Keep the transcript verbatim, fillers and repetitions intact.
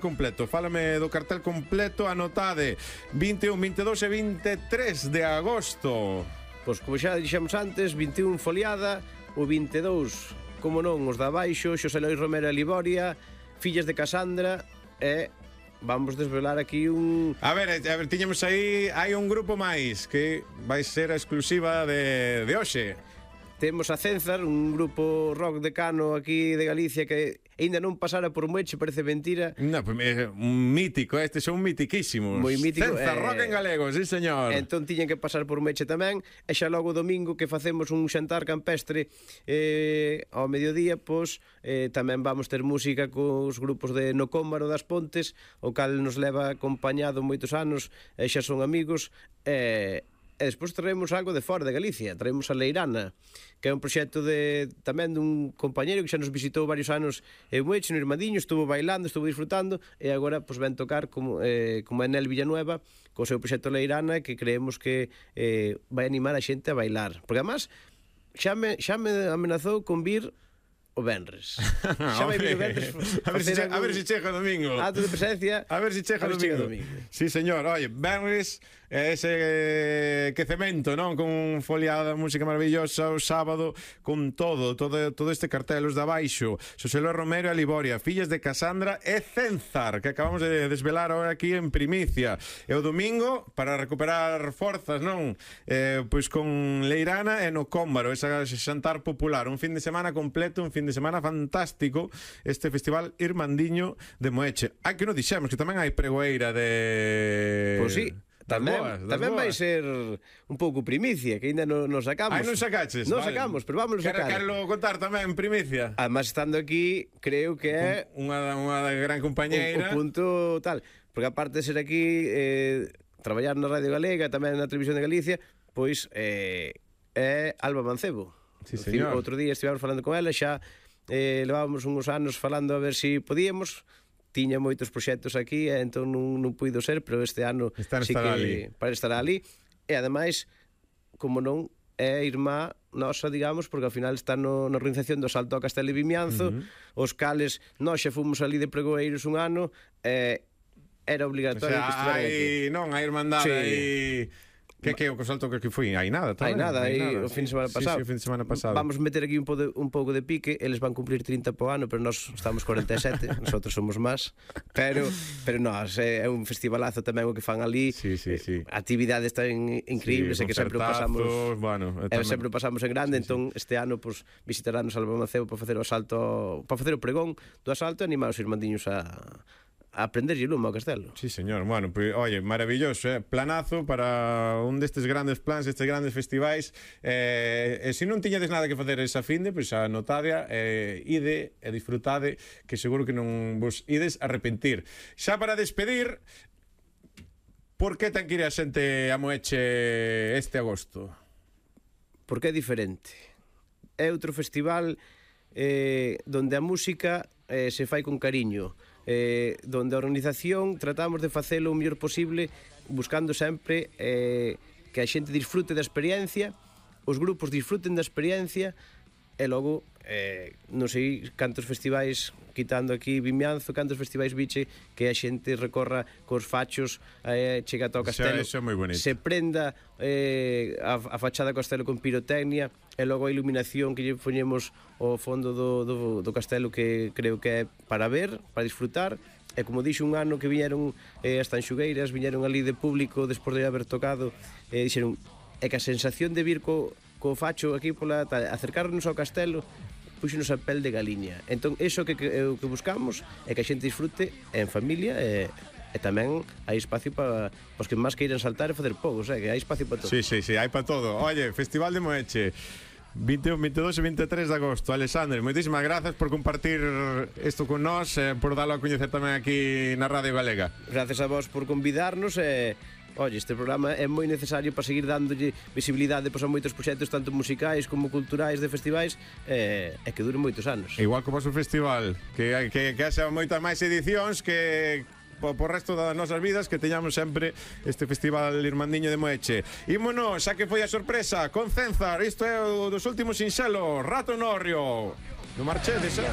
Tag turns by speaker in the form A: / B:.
A: completo, fálame do cartel completo, anotade vinte e un, vinte e dous e vinte e tres de agosto.
B: Pois como xa dixemos antes, vinte e un Foliada, o vinte e dous, como non, os da Baixo, Xosé Lois Romero e Liboria, Fillas de Casandra, e vamos desvelar aquí un...
A: A ver, a ver, tiñamos aí, hai un grupo máis que vai ser a exclusiva de, de hoxe.
B: Temos a Cenzar, un grupo rock decano aquí de Galicia que ainda non pasara por Moeche, parece mentira.
A: No, pues, é un mítico, estes son mitiquísimos.
B: Moi mítico.
A: Cenzar, eh, rock en galego, sí señor.
B: Entón tiñen que pasar por Moeche tamén. E xa logo domingo que facemos un xantar campestre eh, ao mediodía, pois eh, tamén vamos ter música cos grupos de No Cómbaro das Pontes, o cal nos leva acompañado moitos anos, e xa son amigos, e... Eh, E despois traemos algo de fora de Galicia. Traemos a Leirana, que é un proxecto de tamén dun compañeiro que xa nos visitou varios anos en Moeche, no Irmandiño, estuvo bailando, estuvo disfrutando, e agora pois, ven tocar como, eh, como Enel Villanueva co seu proxecto Leirana, que creemos que eh, vai animar a xente a bailar. Porque además xa me, xa me amenazou con vir o venres. Xa vai vir o venres.
A: A ver se a ver se chega o domingo.
B: Acto de presencia.
A: A ver se chega o domingo. domingo. Sí, señor. Oye, venres ese quecemento, non? Con Foliada, música maravillosa, o sábado, con todo, todo, todo este cartel, os da Baixo, Xosé Lois Romero e Liboria, Fillas de Casandra e Cenzar, que acabamos de desvelar ahora aquí en primicia. E o domingo, para recuperar forzas, non? Eh, pois con Leirana e No Cómbaro, esa xantar popular, un fin de semana completo, un fin de semana fantástico, este festival Irmandiño de Moeche. Hai que non dixemos que tamén hai pregoeira de...
B: Pois sí. Tamén, boas, tamén vai ser un pouco primicia, que ainda non nos sacamos.
A: Ai, non sacaches?
B: Non
A: vale.
B: sacamos, pero vamos a sacar.
A: Quero contar tamén, primicia.
B: Además, estando aquí, creo que é...
A: Unha, unha gran compañeira.
B: O, o punto tal. Porque aparte de ser aquí, eh, traballar na Radio Galega, tamén na Televisión de Galicia, pois eh, é Alba Mancebo.
A: Sí, señor.
B: Outro día estivemos falando con ela, xa eh, levábamos uns anos falando a ver se si podíamos... Tiña moitos proxectos aquí e entón non, non puido ser, pero este ano
A: Están
B: sí que
A: ali.
B: para estar ali. E ademais, como non, é irmá nosa, digamos, porque ao final está no, na organización do Salto a Castelo e Vimianzo, uh -huh. os cales nós xa fomos ali de pregoeiros un ano e era obligatorio, o sea, que estiveran aquí.
A: Non, a irmandade
B: sí.
A: aí... Que que o salto que foi? Hai nada,
B: Hai nada, aí o fin de semana pasado.
A: Sí, sí, o fin de semana pasado.
B: Vamos meter aquí un, po de, un pouco de pique, eles van cumplir trinta po ano, pero nós estamos cuarenta e sete, nosotros somos máis. Pero pero nós é un festivalazo tamén o que fan ali.
A: Sí, sí, sí.
B: Actividades tan increíbles, sí, e que sempre pasamos,
A: bueno,
B: e sempre pasamos en grande, sí, entón sí. Este ano pues visitaránnos Alba Mancebo para facer o asalto, para facer o pregón do asalto e animar os irmandiños a a aprenderlle lume ao castelo.
A: Sí, señor. Bueno, pues, oye, maravilloso, eh? Planazo para un destes grandes plans, estes grandes festivais. Eh, e se non tiñades nada que facer esa finde, pois pues, anotade, eh, ide e disfrutade, que seguro que non vos ides arrepentir. Xa para despedir, por que ten que ir a xente a Moeche este agosto?
B: Porque é diferente. É outro festival eh, donde a música eh, se fai con cariño, eh, donde a organización tratamos de facelo o mellor posible, buscando sempre eh, que a xente disfrute da experiencia, os grupos disfruten da experiencia, e logo eh, non sei cantos festivais, quitando aquí Vimianzo, cantos festivais biche que a xente recorra cos fachos, eh, chega ata o castelo,
A: eso, eso
B: se prenda eh, a, a fachada do castelo con pirotecnia, e logo a iluminación que lle poñemos ao fondo do, do, do castelo, que creo que é para ver, para disfrutar. E como dixo un ano que viñeron eh, as tanxugueiras, viñeron ali de público despois de haber tocado, e eh, dixeron é que a sensación de vir co, co facho aquí pola tal, acercarnos ao castelo, puxenos a pel de galiña. Entón, iso que, que, o que buscamos é que a xente disfrute en familia, e, e tamén hai espacio para os que máis queiran saltar e facer pogos, eh, que hai espacio para todo.
A: Sí, sí, sí, hai para todo. Oye, Festival de Moeche, vinte e un, vinte e dous e vinte e tres de agosto. Alexandre, moitísimas grazas por compartir isto con nós, e por dalo a coñecer tamén aquí na Radio Galega.
B: Gracias a vos por convidarnos, e oye, este programa é moi necesario para seguir dándolle visibilidade pois, a moitos proxectos, tanto musicais como culturais, de festivais, e, e que duren moitos anos.
A: Igual como o vosso festival, que, que, que haxa moitas máis edicións, que por, por resto das nosas vidas, que teñamos sempre este festival Irmandiño de Moeche. Ímonos, xa que foi a sorpresa con Cenzar, isto é o dos últimos sinxelos, Rato Norrio. Non marchedes, eh?